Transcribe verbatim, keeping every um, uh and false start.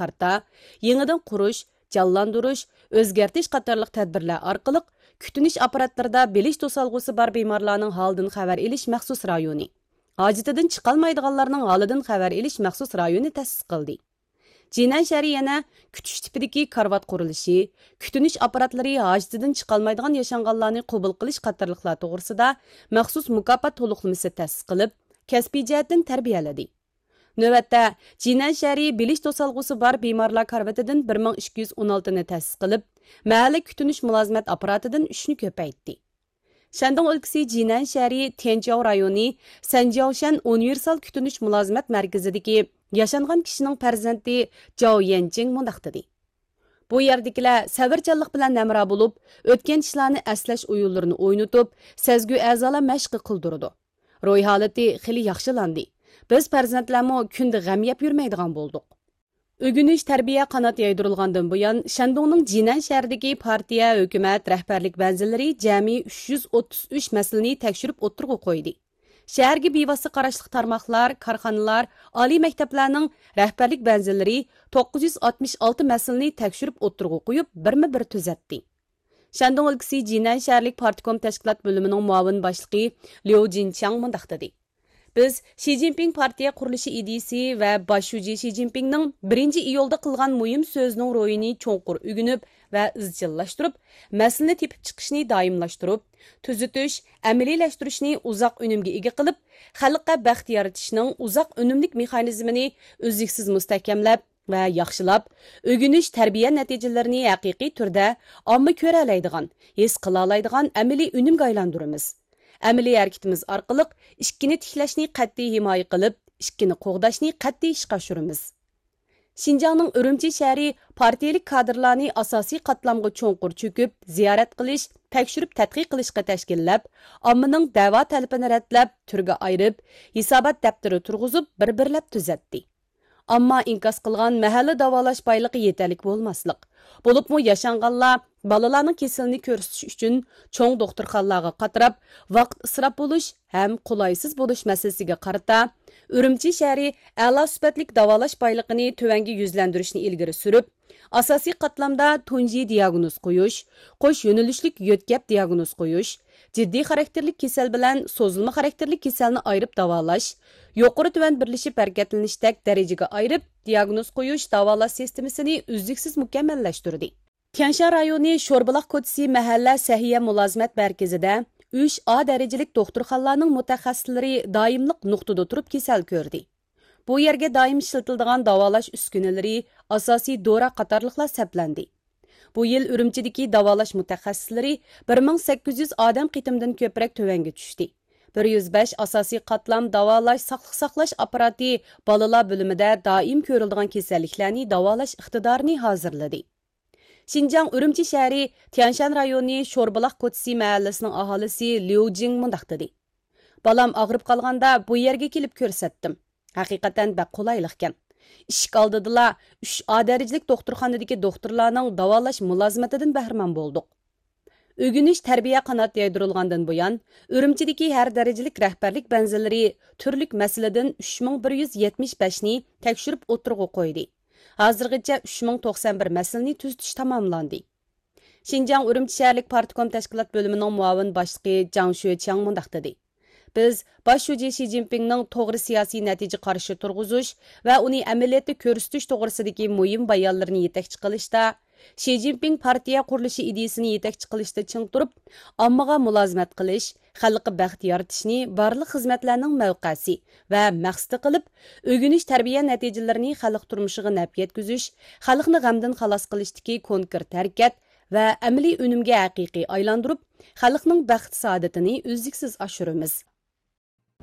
قارىتا، يېڭىدىن قۇرۇش، جانلاندۇرۇش، ئۆزگەرتىش قاتارلىق تەدبىرلەر ئارقىلىق كۈتۈنۈش ئاپپاراتلىرىدا بىلىش توسالغۇسى بار بىمارلارنىڭ ھالىدىن خەۋەر ئېلىش مەخسۇس رايونى، ھاجىتىدىن چىقالمايدىغانلارنىڭ ھالىدىن خەۋەر ئېلىش مەخسۇس رايونى تەسىس قىلدى. جىنەن شەھىرى يەنە كۈتۈش تىپىدىكى كارىۋات قۇرۇلۇشى، كۈتۈنۈش ئاپپاراتلىرى ھاجىتىدىن چىقالمايدىغان ياشانغانلارنى قوبۇل قىلىش قاتارلىقلار توغرىسىدا مەخسۇس مۇكاپات تولۇقلىمىسى تەسىس قىلىپ، كەسپىي جەھەتتىن تەربىيەلىدى. نۆۋەتتە، جىنەن شەھىرى بىلىش توسالغۇسى بار بىمارلار كارىۋىتىدىن بىر مىڭ ئىككى يۈز ئون ئالتىنى تەسىس قىلىپ، مەھەللە كۈتۈنۈش مۇلازىمەت ئاپپاراتىدىن ئۈچنى كۆپەيتتى. شەندۇڭ ئۆلكىسى جىنەن شەھىرى تيەنجياۋ رايونى سەنجياۋشەن ئۇنىۋېرسال كۈتۈنۈش مۇلازىمەت مەركىزىدىكى ياشانغان كىشىنىڭ پەرزەنتى جاۋ يەنچىڭ مۇنداق دېدى: بۇ يەردىكىلەر سەۋرچانلىق بىلەن ھەمراھ بولۇپ، ئۆتكەن ئىشلارنى ئەسلەش ئويۇنلىرىنى ئوينىتىپ، سەزگۈ ئەزالار مەشقى قىلدۇرىدۇ. روھىي ھالىتى خېلى ياخشىلاندى. بىز پەرزەنتلەرمۇ كۈندە غەم يەپ يۈرمەيدىغان بولدۇق. ئۆگىنىش تەربىيە قانات يايدۇرۇلغاندىن بۇيان، شەندۇڭنىڭ جىنەن شەھىرىدىكى پارتىيە، ھۆكۈمەت، رەھبەرلىك بەنزىلىرى جەمئىي ئۈچ يۈز ئوتتۇز ئۈچ مەسىلىنى تەكشۈرۈپ ئوتتۇرىغا قويدى. شەھەرگە بىۋاسىتە قاراشلىق تارماقلار، كارخانىلار، ئالىي مەكتەپلەرنىڭ رەھبەرلىك بەنزىلىرى توققۇز يۈز ئاتمىش ئالتە مەسىلىنى تەكشۈرۈپ ئوتتۇرىغا قويۇپ، بىرمۇ بىر تۈزەتتى. شەندۇڭ ئۆلكىسى جىنەن شەھەرلىك پارتكوم تەشكىلات بۆلۈمىنىڭ مۇئاۋىن باشلىقى ليۇ جىنچياڭ مۇنداق دېدى: بىز شى جىنپىڭ پارتىيە قۇرۇلۇشى ئىدىيىسى ۋە باش شۇجى شى جىنپىڭنىڭ بىرىنچى ئىيۇلدا قىلغان مۇھىم سۆزىنىڭ روھىنى چوڭقۇر ئۆگىنىپ ۋە ئىزچىللاشتۇرۇپ، مەسىلىنى تېپىپ چىقىشنى دائىملاشتۇرۇپ، تۈزىتىش، ئەمەلىيلەشتۈرۈشنى ئۇزاق ئۈنۈمگە ئىگە قىلىپ، خەلققە بەخت يارىتىشنىڭ ئۇزاق ئۈنۈملۈك مېخانىزمىنى ئۈزلۈكسىز مۇستەھكەملەپ، ۋە ياخشىلاپ، ئۆگىنىش تەربىيە نەتىجىلىرىنى ھەقىقىي تۈردە ئامما كۆرەلەيدىغان، ھېس قىلالايدىغان ئەمەلىي ئۈنۈمگە ئايلاندۇرىمىز. ئەمەلىي ھەرىكىتىمىز ئارقىلىق ئىككىنى تىكلەشنى قەتئىي ھىمايە قىلىپ، ئىككىنى قوغداشنى قەتئىي ئىشقا ئاشۇرىمىز. شىنجاڭنىڭ ئۈرۈمچى شەھىرى پارتىيىلىك كادىرلارنى ئاساسىي قاتلامغا چوڭقۇر چۆكۈپ، زىيارەت قىلىش، تەكشۈرۈپ تەتقىق قىلىشقا تەشكىللەپ، ئاممىنىڭ دەۋا تەلىپىنى رەتلەپ، تۈرگە ئايرىپ، ھېسابات دەپتىرى تۇرغۇزۇپ، بىر-بىرلەپ تۈزەتتى. ئامما ئىنكاس قىلغان مەھەللە داۋالاش بايلىقى يېتەرلىك بولماسلىق، بولۇپمۇ ياشانغانلار بالىلارنىڭ كېسىلىنى كۆرسىتىش ئۈچۈن چوڭ دوختۇرخانىلارغا قاتراپ، ۋاقىت ئىسراپ بولۇش ھەم قولايسىز بولۇش مەسىلىسىگە قارىتا، ئۈرۈمچى شەھىرى ئەلا سۈپەتلىك داۋالاش بايلىقىنى تۆۋەنگە يۈزلەندۈرۈشنى ئىلگىرى سۈرۈپ، ئاساسىي قاتلامدا تۇنجى دىياگنوز قويۇش، قوش يۆنىلىشلىك يۆتكەپ دىياگنوز قويۇش، جىددىي خاراكتېرلىك كېسەل بىلەن سوزۇلما خاراكتېرلىك كېسەلنى ئايرىپ داۋالاش، يۇقىرى تۆۋەن بىرلىشىپ ھەرىكەتلىنىشتەك دەرىجىگە ئايرىپ دىياگنوز قويۇش، داۋالاش سىستېمىسىنى ئۈزلۈكسىز مۇكەممەللەشتۈردى. تيەنشان رايونى شوربۇلاق كوچىسى مەھەللە سەھىيە مۇلازىمەت مەركىزىدە ئۈچ ئا دەرىجىلىك دوختۇرخانىلارنىڭ مۇتەخەسسىسلىرى دائىملىق نۇقتىدا تۇرۇپ كېسەل كۆردى. بۇ يەرگە دائىم ئىشلىتىلىدىغان داۋالاش ئۈسكۈنىلىرى، ئاساسىي دورا قاتارلىقلار سەپلەندى. بۇ يىل ئۈرۈمچىدىكى داۋالاش مۇتەخەسسىسلىرى بىر مىڭ سەككىز يۈز ئادەم قېتىمدىن كۆپرەك تۆۋەنگە چۈشتى. بىر يۈز بەش ئاساسىي قاتلام داۋالاش، ساقلىق ساقلاش ئاپپاراتى بالىلار بۆلۈمىدە دائىم كۆرۈلىدىغان كېسەللىكلەرنى داۋالاش ئىقتىدارىنى ھازىرلىدى. شىنجاڭ ئۈرۈمچى شەھىرى تيەنشان رايونى شوربۇلاق كوچىسى مەھەللىسىنىڭ ئاھالىسى ليۇ جىڭ مۇنداق دېدى: بالام ئاغرىپ قالغاندا بۇ يەرگە كېلىپ كۆرسەتتىم. ھەقىقەتەن بەك قولايلىقكەن. ئىشىك ئالدىدىلا ئۈچ ئا دەرىجىلىك دوختۇرخانىدىكى دوختۇرلارنىڭ داۋالاش مۇلازىمىتىدىن بەھرىمەن بولدۇق. ئۆگىنىش تەربىيە قانات يايدۇرۇلغاندىن بۇيان، ئۈرۈمچىدىكى ھەر دەرىجىلىك رەھبەرلىك بەنزىلىرى تۈرلۈك مەسىلىدىن ئۈچ مىڭ بىر يۈز يەتمىش بەشنى تەكشۈرۈپ ئوتتۇرىغا قويدى. ھازىرغىچە ئۈچ مىڭ توقسان بىر مەسىلىنى تۈزىتىش تاماملاندى. شىنجاڭ ئۈرۈمچى شەھەرلىك پارتكوم تەشكىلات بۆلۈمىنىڭ مۇئاۋىن باشلىقى جاڭ شۆچياڭ مۇنداق دېدى: بىز باش شۇجى شى جىنپىڭنىڭ توغرا سىياسىي نەتىجە قارىشى تۇرغۇزۇش ۋە ئۇنى ئەمەلىيەتتە كۆرسىتىش توغرىسىدىكى مۇھىم بايانلىرىنى يېتەكچى قىلىشتا، شى جىنپىڭ پارتىيە قۇرۇلۇشى ئىدىيىسىنى يېتەكچى قىلىشتا چىڭ تۇرۇپ، ئاممىغا مۇلازىمەت قىلىش، خەلققە بەخت يارىتىشنى بارلىق خىزمەتلەرنىڭ مەۋقەسى ۋە مەقسىتى قىلىپ، ئۆگىنىش تەربىيە نەتىجىلىرىنى خەلق تۇرمۇشىغا نەپ يەتكۈزۈش، خەلقنى غەمدىن خالاس قىلىشتىكى كونكرېت ھەرىكەت ۋە ئەمەلىي ئۈنۈمگە ھەقىقىي ئايلاندۇرۇپ، خەلقنىڭ بەخت-سائادىتىنى ئۈزلۈكسىز ئاشۇرىمىز.